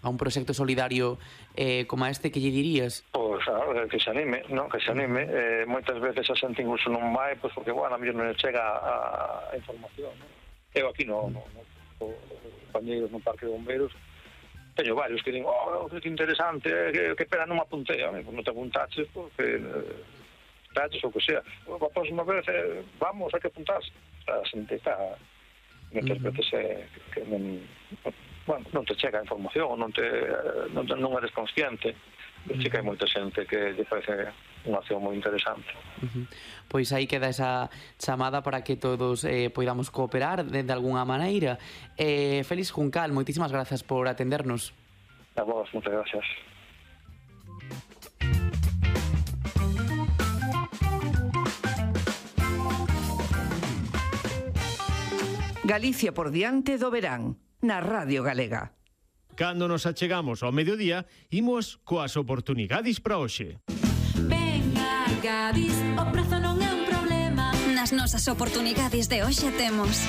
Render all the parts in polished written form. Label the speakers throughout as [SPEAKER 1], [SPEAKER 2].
[SPEAKER 1] a un proxecto solidario como este, que lle dirías?
[SPEAKER 2] Pois, que se anime, non? Que se anime. Moitas veces a xente incluso non vai, pois porque, bueno, a mellor non chega a información, non? Eu aquí no compañeiros no Parque de Bombeiros teño varios que din, que interesante, que pena non me apuntei. Non te apuntaches porque traches ou que sea. A próxima vez vamos, hai que apuntarse. A xente está moitas veces que non te chega a información, non eres consciente. Sí que hai moita xente que lle parece unha acción moi interesante.
[SPEAKER 1] Pois aí queda esa chamada para que todos poidamos cooperar de alguna maneira. Félix Juncal, moitísimas grazas por atendernos.
[SPEAKER 2] A vos, moitas gracias.
[SPEAKER 3] Galicia por diante do verán, na Radio Galega.
[SPEAKER 4] Cando nos achegamos ao mediodía, imos coas oportunidades para hoxe.
[SPEAKER 5] Venga, Gadis, o prezo non é un problema.
[SPEAKER 6] Nas nosas oportunidades de hoxe temos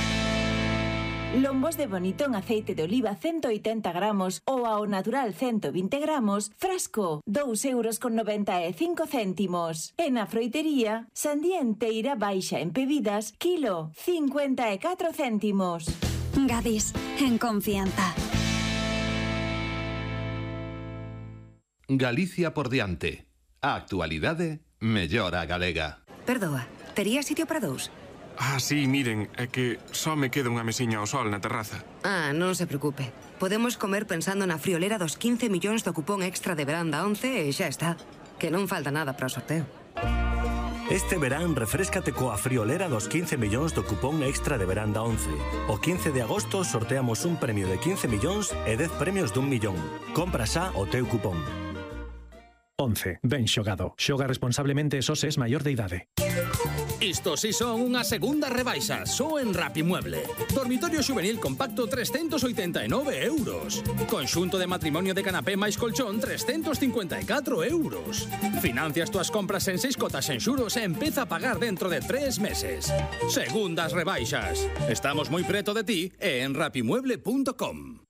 [SPEAKER 7] lombos de bonito en aceite de oliva 180 gramos ou ao natural 120 gramos, frasco, 2,95 €. E na froitería, sandía enteira baixa en bebidas, kilo, 54 céntimos.
[SPEAKER 6] Gadis, en confianza.
[SPEAKER 8] Galicia por diante. A actualidade mellora a galega.
[SPEAKER 9] Perdoa, tería sitio para dous?
[SPEAKER 10] Sí, miren, é que só me queda unha mesiña ao sol na terraza.
[SPEAKER 9] Non se preocupe. Podemos comer pensando na friolera dos 15 millóns do cupón extra de verán da 11 e xa está. Que non falta nada para o sorteo.
[SPEAKER 11] Este verán refréscate coa friolera dos 15 millóns do cupón extra de verán da 11. O 15 de agosto sorteamos un premio de 15 millóns e 10 premios de 1 millón. Compra xa o teu cupón.
[SPEAKER 12] 11. Ben xogado. Xoga responsablemente e só se es maior de idade.
[SPEAKER 13] Isto si son unha segunda rebaixa, só en Rapimueble. Dormitorio juvenil compacto 389 €. Conxunto de matrimonio de canapé máis colchón 354 €. Financias túas compras en 6 cotas en xuros e empeza a pagar dentro de 3 meses. Segundas rebaixas. Estamos moi preto de ti e en rapimueble.com.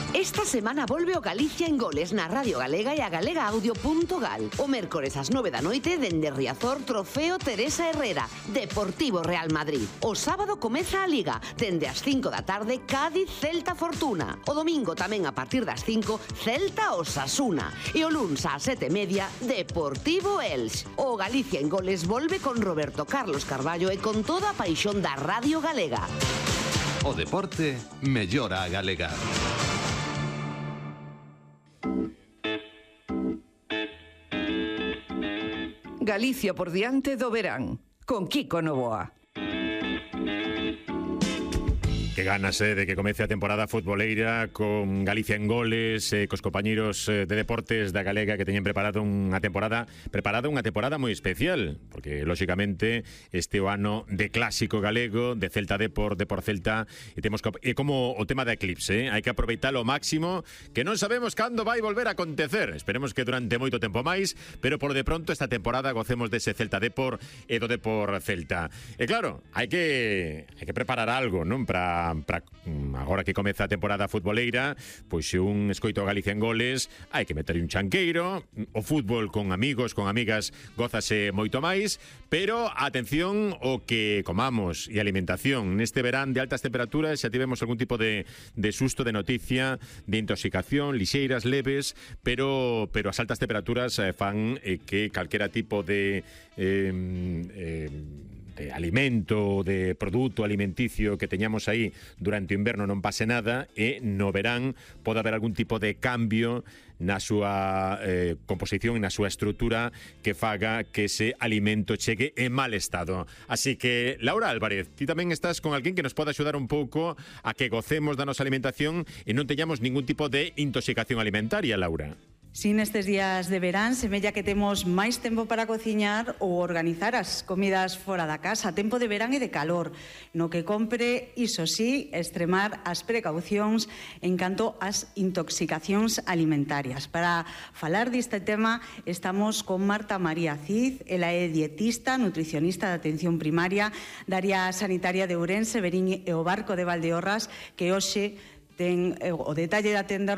[SPEAKER 14] Esta semana volve o Galicia en Goles na Radio Galega e a galegaaudio.gal. O mércores ás 9 da noite dende Riazor, Trofeo Teresa Herrera, Deportivo Real Madrid. O sábado comeza a Liga, dende as 5 da tarde Cádiz Celta Fortuna. O domingo tamén a partir das 5 Celta Osasuna. E o luns ás 7:30 Deportivo Elx. O Galicia en Goles volve con Roberto Carlos Carballo e con toda a paixón da Radio Galega.
[SPEAKER 8] O deporte mellora a galega.
[SPEAKER 3] Galicia por diante do verán, con Kiko Novoa.
[SPEAKER 4] Que ganas de que comece a temporada futboleira con Galicia en Goles, cos compañeros de deportes da Galega que teñen preparada unha temporada moi especial, porque lóxicamente este o ano de clásico galego, de Celta Depor, Depor Celta, e temos como o tema da eclipse, hai que aproveitalo ao máximo, que non sabemos cando vai volver a acontecer. Esperemos que durante moito tempo máis, pero por de pronto esta temporada gocemos dese Celta Depor e do Depor Celta. E claro, hai que preparar algo, non? Para agora que comeza a temporada futboleira, pois se un escoito a Galicia en Goles, hai que meter un chanqueiro. O fútbol con amigos, con amigas, gózase moito máis, pero atención o que comamos e alimentación. Neste verán de altas temperaturas xa tivemos algún tipo de susto, de noticia de intoxicación, lixeiras, leves, pero as altas temperaturas fan que calquera tipo de alimento, de produto alimenticio que teñamos aí durante o inverno non pase nada, e no verán pode haber algún tipo de cambio na súa composición e na súa estrutura que faga que ese alimento chegue en mal estado. Así que, Laura Álvarez, ti tamén estás con alguén que nos pode axudar un pouco a que gocemos da nosa alimentación e non teñamos ningún tipo de intoxicación alimentaria, Laura.
[SPEAKER 15] Si nestes días de verán semella que temos máis tempo para cociñar ou organizar as comidas fora da casa, tempo de verán e de calor, no que compre, iso sí, extremar as precaucións en canto ás intoxicacións alimentarias. Para falar deste tema estamos con Marta María Cid, ela é dietista, nutricionista de atención primaria da área sanitaria de Ourense, Verín e o Barco de Valdeorras, que hoxe ten o detalle de atender